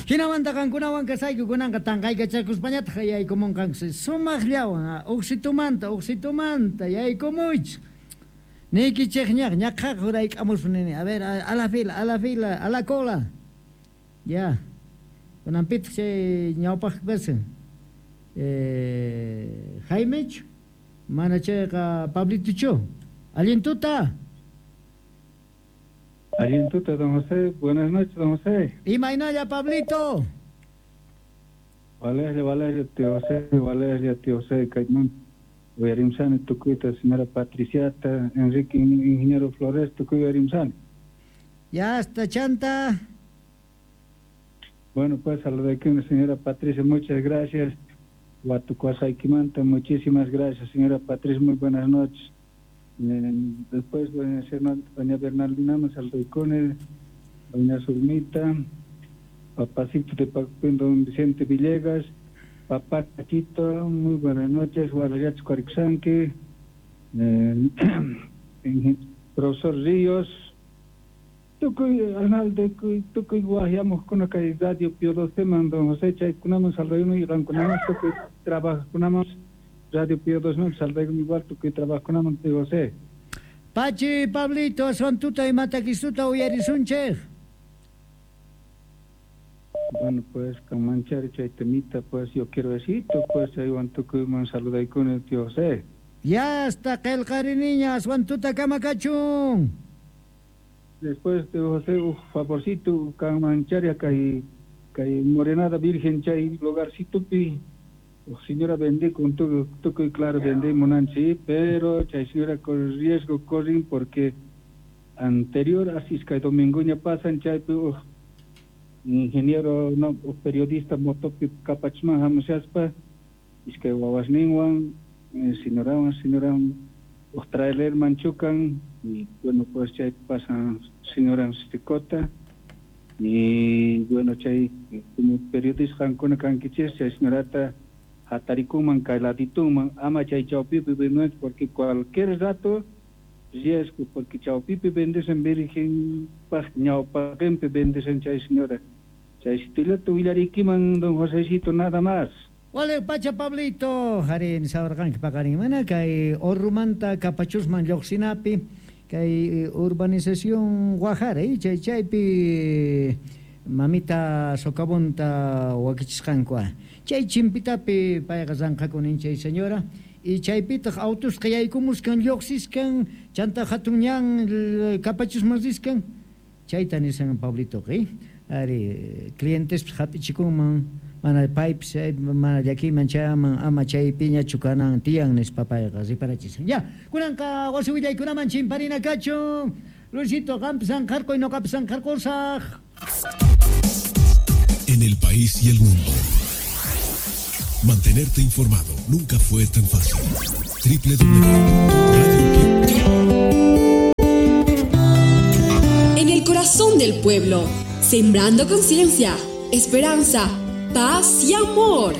Jinamanta qankunawan kasayku kunanqa tanqaykachakuspañataq yaykumunqanku sumaqllawan uqsitumanta uqsitumanta yaykumuychik. Niykichikñaq ñaqhaq hurayk'amuspa nini a ver a la fila a la fila a la cola. Ya. Kunanpitaq chay ñawpaq kasan. Jaimechu mana chayqa Pablitochu. Allin tuta. Allin tuta, don José. Buenas noches, don José. Imaynalla, Pablito. Valeria, Valeria, tío José, Valeria, tío José, kayman uyarimsani tukuyta, señora Patriciata, Enrique, ingeniero Flores, tukuy uyarimsani. Ya hasta chanta. Bueno, pues saludaykiman, señora Patricia, muchas gracias. Watukuwasqaykimanta, muchísimas gracias, señora Patricia, muy buenas noches. Después, doña Bernardina, saludaykuni, doña Zulmita, papacito de Pacpín, don Vicente Villegas, papá Tachito, muy buenas noches, Guadalajara Cuarixanqui, profesor Ríos, tukuy Arnaldo, tukuy wajyamuqkuna kay Radio Pío XII man, don José chaykunaman saludayuni y qankunaman tukuy trabajkunaman Radio Pío XII man saludayuni igual tukuy trabajkunaman tío José. Pachi Pablito, aswan tuta imatakisuta uyarisunchej. Bueno, pues, con manchar chay temita, pues, yo quiero decir, pues, chaywan tukuyman saludaykuni, tío José. Ya hasta qillqariniña, aswan tuta kamakachun. Después, tío José, un favorcito, kan mancharia kay kay Morenada Virgen chay lugarcito pi, señora vende con tukuy claro vende munanchi, pero chay señora con riesgo corren porque anterior así es que domingo ña pasan chay pi, ingeniero no periodista motopi kapachman hamushaspa iskay wawasninwan señorawan señoran trailer manchucan y bueno pues chay pasan señora Sticota y bueno chay como periodista qankuna kankichis chay señorata hatarikuman kay ladituman ama chay chawpipi vendes porque cualquier rato riesgo porque chawpipi vendesen virgen paj ñawpaqinpi vendesen chay señora chay situlata willarikiman don Josecito nada más. Wale pacha Pablito, harin sawarqanki paqarin mana kay Orrumanta Kapachusman lluqsinapi kay urbanización Guajara chay chaypi mamita socavonta wakichisqanku chay chimpitapi payqa ranqakunin chay señora y chaypitaq autusqa yaykumuskan lluqsiskan chanta hatun ñan Kapachusman riskan chayta nisan Pablito ari clientes hap'ichikunman mana pipes mana llakiyman chayaman ama chaypiñachu kanan tiyan nispa payqa riparachisan. Ya, kunanqa wasi willaykunaman chimparina kachun. Luisito, qampis anqarquy ñuqapis anqarqusaq. En el país y el mundo, mantenerte informado nunca fue tan fácil. www.radio. En el corazón del pueblo, sembrando conciencia, esperanza, paz y amor.